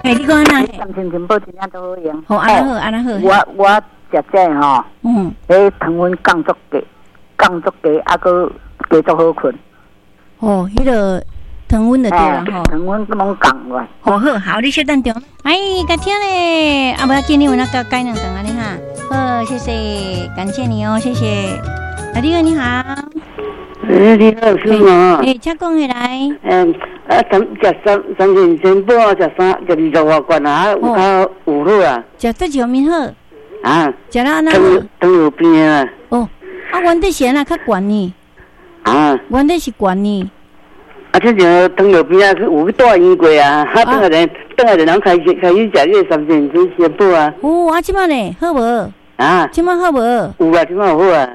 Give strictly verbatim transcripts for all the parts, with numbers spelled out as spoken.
嘿，你講按怎？三星珍寶真正都好用。好，按怎好，按怎好。我我食這吼，嗯，彼糖分降足低，降足低，啊，閣加足好睏。哦，彼个糖分就對啦吼。糖分攏降落來。好好好，你稍等著。哎，共聽咧，啊，無要緊，你有哪共改兩頓按呢哈。好，謝謝，感謝你哦，謝謝。啊，你好，你好。欸，你好，師傅。欸，請講起來。嗯，啊，三食三三星珍寶，食三食二十外罐啊，有較有好啊。食佗一方面好？啊。食了按怎好？糖尿病啊。哦，啊，原底是按怎較懸呢？啊。原底是懸呢。啊，這就糖尿病啊，有去住院過啊，啊，轉來人，轉來人開始開始食這个三星珍寶啊。哦，啊，這擺呢，好無？啊。這擺好無？有啊，這擺有好啊。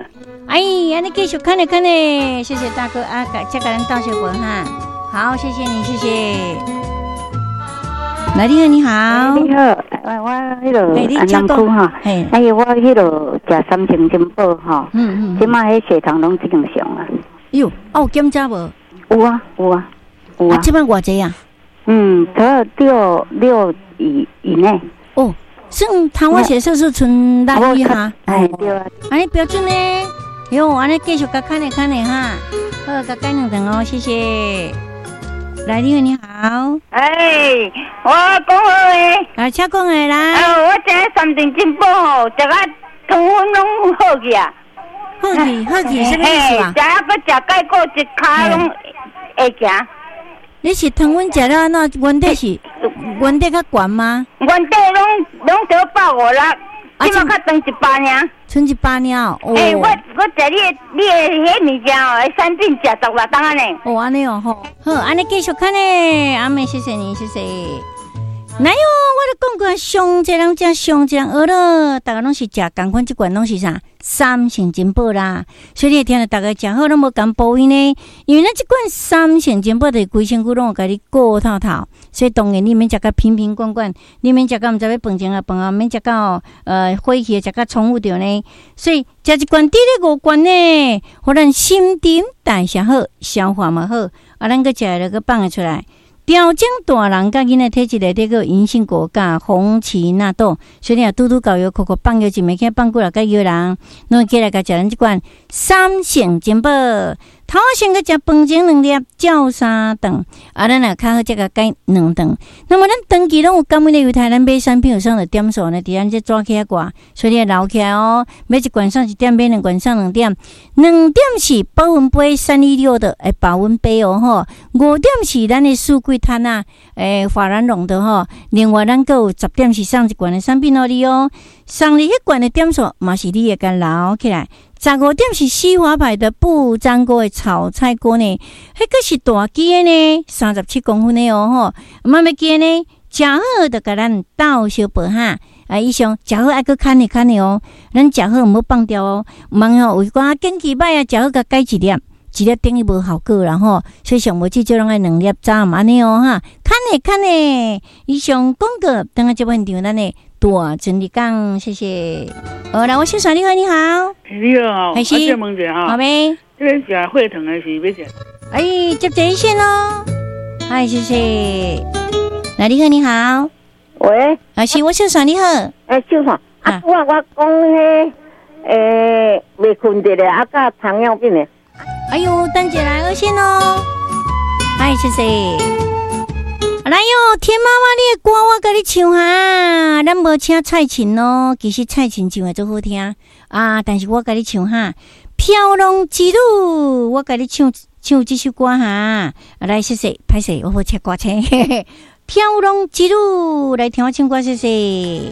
哎，按呢繼續看咧看咧，謝謝大哥啊，這共咱鬥相報哈。好，謝謝你，謝謝。來，你好，你好。你好，我我彼个安南區哈，哎呦，我彼个食三星珍寶吼，嗯嗯，這擺彼血糖攏正常啊。喲，啊有檢查無？有啊，有啊，有啊。這擺偌濟啊？嗯，差六六以以內。哦，算糖化血色素賰六以下。哎，對啊。按呢標準呢？喲，按呢繼續共看咧看咧哈，好，共改兩頓哦，謝謝。來，你好，你好。哎，我講好的。啊，請講的啦。哦，我食三星珍寶吼，食甲糖分攏好去啊。好去，好去，啥物意思啊？食啊，閣食钙骨，一跤攏會行。你是糖分食了按怎？原底是原底較懸嗎？原底攏攏得百五六。這擺較長一百爾。賰一百爾哦。欸，我我食你的你的彼物件哦，產品食十外冬按呢。哦，按呢哦吼，好，按呢繼續看呢。阿妹，謝謝你，謝謝。來喲，我咧講過，上濟人食，上濟人學了，逐家攏是食仝款，這罐攏是啥？三星珍寶啦。所以你會聽著逐家食好攏無仝部位呢，因為咱這罐三星珍寶就是規身軀攏有共你顧透透，所以當然你免食甲瓶瓶罐罐，你免食甲毋知欲飯前啊飯後，免食到呃火氣食甲重複著呢。所以食一罐低咧五罐呢，予咱新陳代謝好，消化嘛好，啊，咱閣食了閣放會出來。調整大人佮囡仔體質內底閣有銀杏果佮紅芪納豆，所以你若拄拄夠藥，扣扣放藥一暝起放久了佮藥人，攏會起來共食咱這罐三星珍寶。頭先閣食飯前兩粒，照三頓，啊，咱若較好才共改兩頓。那麼咱長期攏有感恩的猶太，咱買產品有送著點數呢，佇咱這紙起掛，所以你愛留起來哦。買一罐送一點，買兩罐送兩點。兩點是保溫杯三一六的，欸，保溫杯哦吼。五點是咱的四季攤啊，欸，法蘭絨的吼。另外咱閣有十點是送一罐的產品予你哦。送你彼罐的點數嘛是你會共留起來。十五點是西華牌的不粘鍋的炒菜鍋呢，彼個是大支的呢，三十七公分的哦吼。嘛欲記呢，食好就共咱鬥相報哈。啊，以上食好愛閣牽的牽的哦，咱食好毋好放掉哦。毋通吼有一寡景氣歹啊，食好共改一粒，一粒等於無效果啦吼。所以上無至少攏愛兩粒早暗按呢哦哈。牽的牽的，以上廣告，等下節目現場咱的大真理講，謝謝。好，來，我先生你好，你好。你好，還是我問一下哈。好沒？這个食血糖的是欲食？哎，接熱線咯。嗨，謝謝。來，你好，你好。喂。啊，是我先生你好。哎，秀華，啊，我我講彼，欸，袂睏著咧，啊，佮糖尿病的。哎喲，等一下來熱線咯。嗨，謝謝。來喲，天媽媽，你的歌我共你唱哈，咱無請蔡琴哦，其實蔡琴唱的足好聽啊，但是我共你唱哈，《飄浪之女》，我共你唱唱這首歌哈。啊，來，謝謝，歹勢，我無請歌星，《飄浪之女》，來聽我唱歌，謝謝。